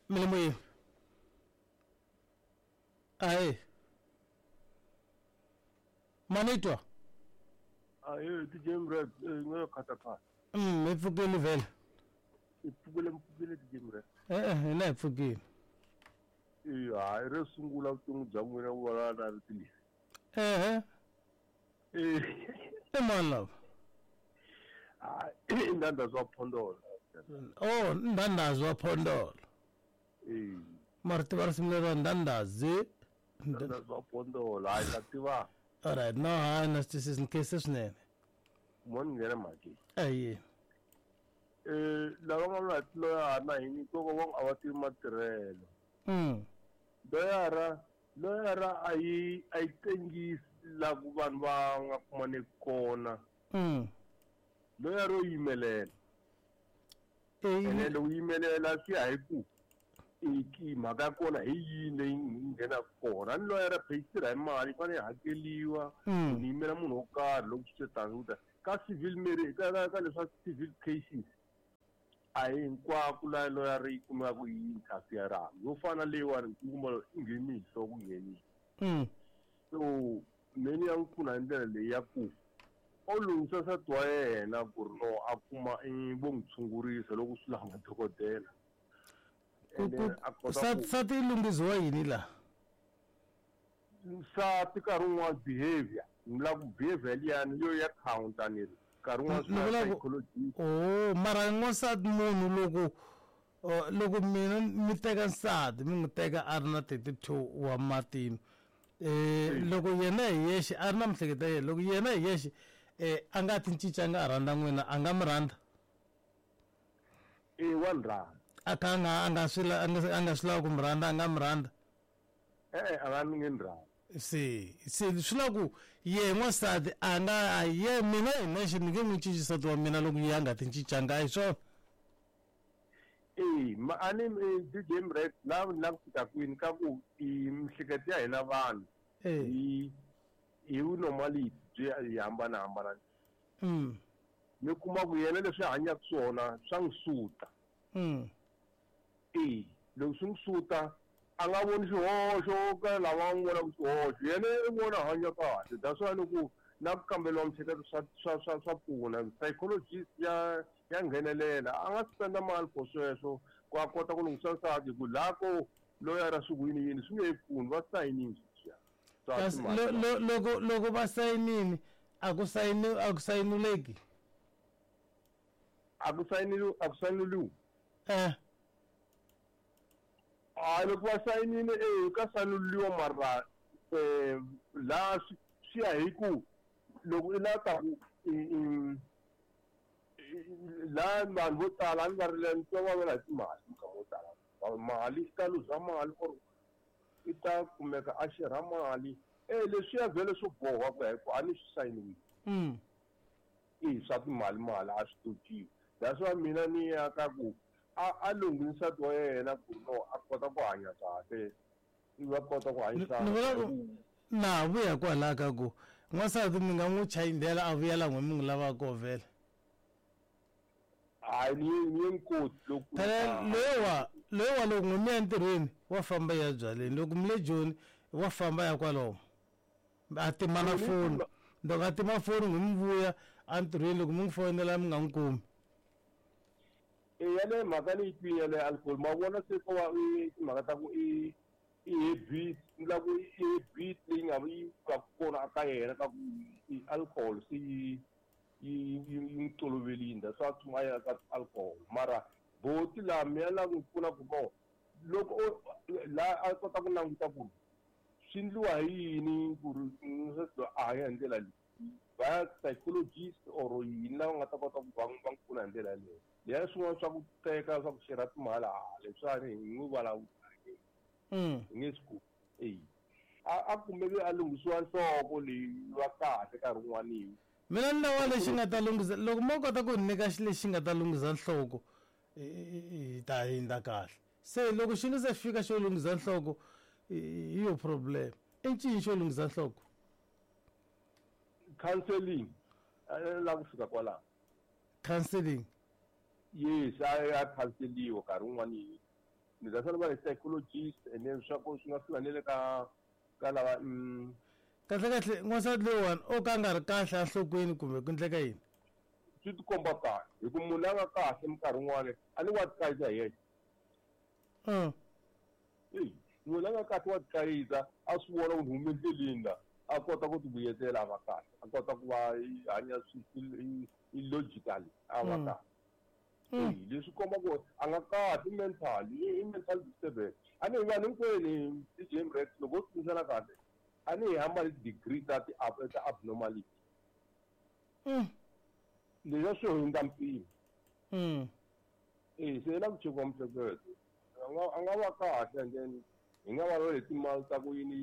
Mi le moyeni. Ahee. Ma ni twa? Ahee, DJ Mrap, eh, ngeke khathakhatha. Hi pfukile vhele. I pfukile mpfukile DJ Mrap. E-e, hina hi pfukile. Eh, hayi ro sungula vutomi bya n'wina ku vulavula na rito leri. Ehe. Eh. I mani lava? Hayi, i Ndandhazi wa Phondolo. Oh, Ndandhazi wa Phondolo. Eh. Mara tiva risimu leri ra Ndandhazi. Ndandhazi wa Phondolo, hayi na tiva. Alright, no hayi na swi twisisi ni khense swinene. Mo ni nghena mhakeni. Ahee. Eh, lava nga na tiloyara na hini nkoka va a va tivi matirhelo. Loyara, loyara a yi a yi tengisi la ku vanhu va nga kumaneki kona. Loyara yo yimelela. Ene loko yimelela swi ya hi ku i ki mhaka ya kona hi yini leyi nghenaka kona. A ni loyara phe yi tirha hi mali yi fanele yi hakeliwa. Ni yimela munhu wo karhi loko swi te tani ku ta ka civil marriage ka ka ka leswa civil cases a hi hinkwako laha loyara yi kumekaka yi interfere yo fana leyiwani u kuma i ngheni hi nhloko nghenile. So me ni ya n'wi pfuna hi ndlela leyi ya ku o lunghisa nsati wa yena ku ri no a kuma i vo n'wi tshungurisa loko swi lava madokodela. Ku ku nsati yi lunghisiwa yini laha? Nsati nkarhi wun'wani behavior ni vula ku behavior liyani yo ya counter ni ri nkarhi wun'wani swi lava psychologist. Oh mara n'wansati munhu loko loko mina mi teka nsati mi n'wi teka a ri na 32 wa matino loko yena hi yexe a ri na mihleketo ya yena loko yena hi yexe a nga ti cincanga a rhandza n'wina a nga mi rhandza? E wa ni rhandza. A kha a nga a nga swi a nga a nga swi lavi ku mi rhandza a nga mi rhandza? E-e a nga ni nge ni rhandzi. Se se swi la ku yehe n'wansati a nga a ye mina hi nexe ni nge n'wi cinci nsati wa mina loko ye a nga ti cincanga a hi swona? E ma a ni DJ Mrek la ni la ku fika kwini ka ku i mihleketo ya hina vanhu hi hi normality byi hi hambana hambana. Mi kuma ku yena leswi a hanyaka swona swa n'wi suta. E loko swi n'wi suta a nga voni xihoxo ka lava n'wi vonaka xihoxo yena i vona hanya kahle that's why loko na ku kamberiwa mihleketo swa swa swa swa pfuna psychologist ya ya nghenelela a nga spenda mali for sweswo ku a kota ku lunghisa nsati hi ku laha ko loyara swi ku yini yini swi nge he pfuni va sayinini sweswiya swa Kasi timhaka loko loko va sayinini a ku sayini a ku sayinuleki a ku sayiniliwi a ku sayiniliwi eh hayi loko va sayinile e ka sayinululiwa mara um laha swi swi ya hi ku loko i lava ta ku laha vanhu vo tala a ni va rile ni twa va vula hi timali minkarhi yo tala mali i ta luza mali or i ta kumeka a xerha mali e leswiya vhele swo boha ku ya hi ku a ni swi sayiniwile. I swa timali mali a swi totiwi that's why mina ni ya ka ku a a lunghisi nsati wa yena ku no a kota ku hanya kahle i va kota ku hanyisana. Ni vula ku na ha vuya kwalaya ka ku n'wansati mi nga n'wi chayindela a vuya la n'we mi n'wi lavaka koho vhele. Hayi ni ye ni ye n'wi koti loko Phela loyiwa loyiwa loko n'we mi ya entirhweni wa famba ya byaleni loko mi le Joni wa famba ya kwalomo a tima na foni loko a tima foni n'we mi vuya entirhweni loko mi n'wi fonela mi nga n'wi kumi. E yaleyo mhaka ni yi twile yaleyo alcohol ma vona se ko va i timhaka ta ku i i habit ni la ku i habit leyi nga yi va kona ka yena ka ku i alcohol se yi yi yi n'wi toloverile that's why a tshuma a ya ka alcohol mara boti laha mina la n'wi pfuna ku no loko o la a kota ku languta ku swi endliwa hi yini ku ri nsati loyi a hanya hi ndlela leyi va ya psychologist or yini lava nga ta kota ku va va n'wi pfuna hi ndlela yaleyo leya swin'wana swa ku teka swa ku xerha timali ha leswiwani hi n'wi vulavula hi nge swi koti eyi a a kumeke a lunghisiwa nhloko leyi va kahle nkarhi wun'wani. Mina ni lava lexi nga ta lunghisa loko mo kota ku ni nyika xi lexi nga ta lunghisa nhloko hi ta hindza kahle se loko xi nga se fika xo lunghisa nhloko hi yo problem i ncini xo lunghisa nhloko? Counseling la ku fika kwalaho. Counseling Yes a ya counseliwa nkarhi wun'wani. Ni ta fanele va hi psychologist and then swa ku swi nga fika ni le ka ka lava Kahle kahle n'wansati loyiwani o ka a nga ri kahle enhlokweni kumbe ku endleka yini? Swi tikomba kahle hi ku munhu la nga kahle minkarhi yin'wana a ni wa tikayisa hi yexe. Eyi munhu la nga kahle wa tikayisa a swi vona ku ni hume endleleni la a kota ku ti vuyetela a va kahle a kota ku va hanya i logically a va kahle. Eyi leswi komba ku a nga kahle mental i mental disturbance. A ni hi vanhu hinkwenu DJ Mrex loko ho tsundzuxana kahle a ni hi hambani ti-degree ta ti ta abnormality. Leswiya swi hundza mpimo. E se la ku chekiwa miehleketo. A nga va kahle and then hi nga vulavula hi timali ta ku yini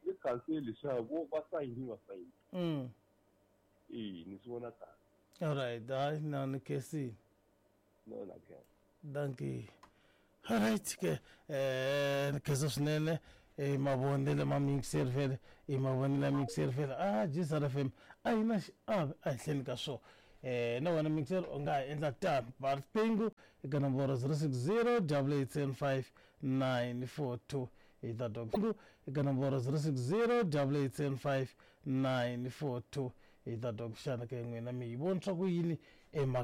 yi cancel leswaku va sayini va sayini. E ni swi vona tano. Alright, hayi na ni khensile. No na khensa. Dankie. Alright ke ni khensa swinene i mavonelo ma mixer vhele i mavonelo ya mixer vhele a Gsr FM a yi na xiave ehenhleni ka swona na wena mixer u nga ha endla tano ba riqingho eka nomboro 060 875 942 hi ta twa eka nomboro 060 875 942 hi ta twa ku xana ke n'wina mi yi vonisa ku yini emhaka.